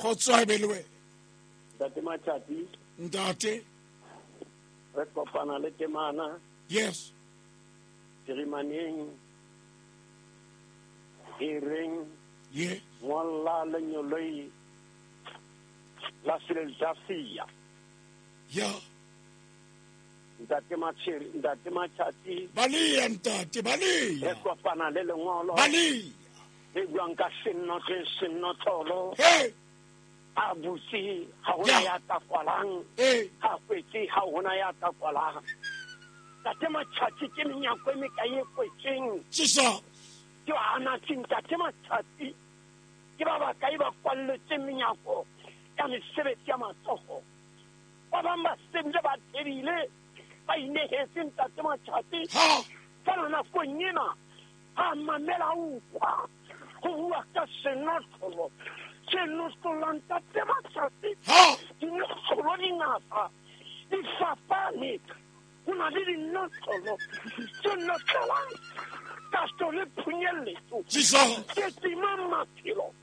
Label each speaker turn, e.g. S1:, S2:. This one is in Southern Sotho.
S1: Kgotso a be le wena.
S2: Ntate Matjhati.
S1: Ntate.
S2: Re kopana le temana.
S1: Yes.
S2: Phirimaneng e reng
S1: Yes.
S2: ngolla lenyoloi la Philadelphia.
S1: Yeah.
S2: Ntate Matsheri, Ntate Matjhati.
S1: Baleya ntate, baleya.
S2: Re kopana le lengolo.
S1: Baleya.
S2: Le buang ka sennotle sennotlolo.
S1: Hey.
S2: A butse ha hona ya ka kwalang.
S1: Hey.
S2: Ha kwetse ha hona ya ka kwalang. Ntate Matjhati ke menyako e mekae e kwetseng.
S1: Jesus.
S2: Ke ba anatseng Ntate Matjhati. Ke ba bakae ba kwalletseng menyako ya mesebetsi ya matsoho. Ba bang ba sebile ba tebile ba inehetse Ntate Matjhati.
S1: Ha.
S2: Fela nakong ena ha mamela utlwa ho bua ka senotlolo. Senotlolo Ntate Matjhati.
S1: Ha.
S2: Dinotlolo di ngata di fapane. Ho na le dinotlolo tse notlelang kasto le phunyelletso.
S1: Jesus.
S2: Tse timang maphelo.